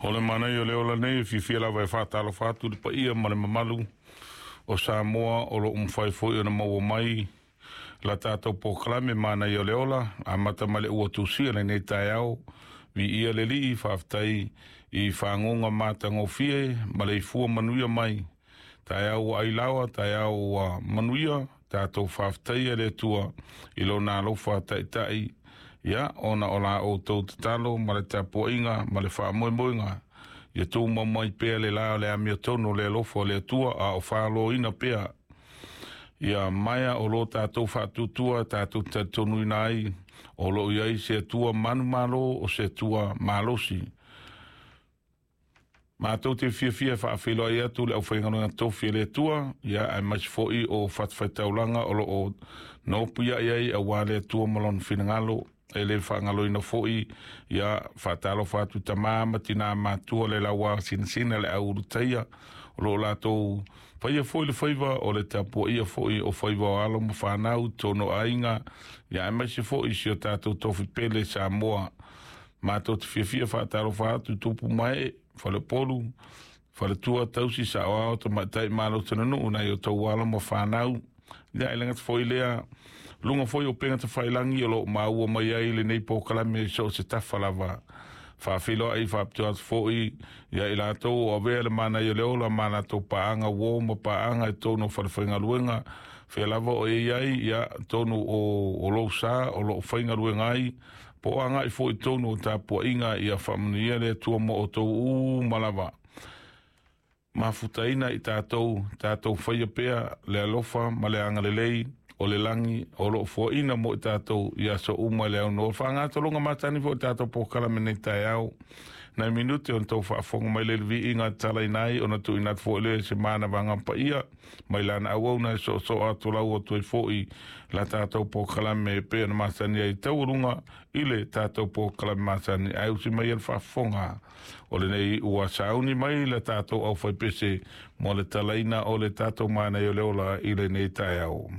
O le manaia o le ola nei e fiafia lava e faatalofa atu i le paia ma le mamalu o Samoa o loo mafai foi ona maua mai la tatou polokalame Manaia o le Ola, amata mai le ua tusia lenei taeao. Viia le Alii, faafetai i fagoga matagofie ma le ifua manuia mai. Taeao ua ailaoa, taeao ua manuia, tatou faafetaia le Atua i lona alofa taitai, ia ona o la outou tatalo ma le tapuaiga ma le faamoemoega. Ia tumau mai pea le la o le amiotonu o le alofa o le Atua, a o faaloina pea ia maea o lo tatou faatuatua tatou talitonuina ai o loo i ai se Atua manumalo o se Atua malosi. Matou te fiafia e faafeiloai atu le aufaigaluega tofi a le Atua, ia aemaise foi o fatafaitaulaga o loo nopiai ai aua le Atua ma lona finagalo. E le faagaloina foi, ia faatalofa atu tama ma tina matua le laua sinasina le au ulutaia o loo latou faia foi le faiva o le tapuaia foi o faiva o alo ma fanau tonu aiga, ia aemaise foi si o tatou tofi pele Samoa. Matou te fiafia faatalofa atu tupu mai falepolu faletua tausi saoao tamaitai malo tananuu nai o tau alo ma fanau. Ia e le gata foi lea, luga foi o upega tafailagi o loo maua mai ai lenei polokalame so o se tafa lava. Faafeiloai faapitoa atu foi ia i latou o avea le manaia o le ola ma latou paaga uo ma paaga i totonu o falefaigaluega fea lava o e i ai, ia totonu o lou sa o loo faigaluega ai, po o agai foi i totonu o tapuaiga. Ia faamanuia le Atua ma outou uma lava. Mafutaina i tatou faia pea le alofa ma le agalelei o le lagi o loo foaina mo i tatou i aso uma i le aunoa. Faagatologa matani foi tatou polokalame nei taeao. Nai minute ona tou faafofoga mai le viiga talaina ai ona tuuina atu foi lea se manavaga paia mai lana auauna e soosoo atu lau atu ai foi la tatou polokalame e pei ona masani ai taualuga i le tatou polokalame masani. Ae usi mai le faafofoga o lenei ua sauni mai le tatou aufaipese mo le talaina o le tatou manaia o le ola i lenei taeao.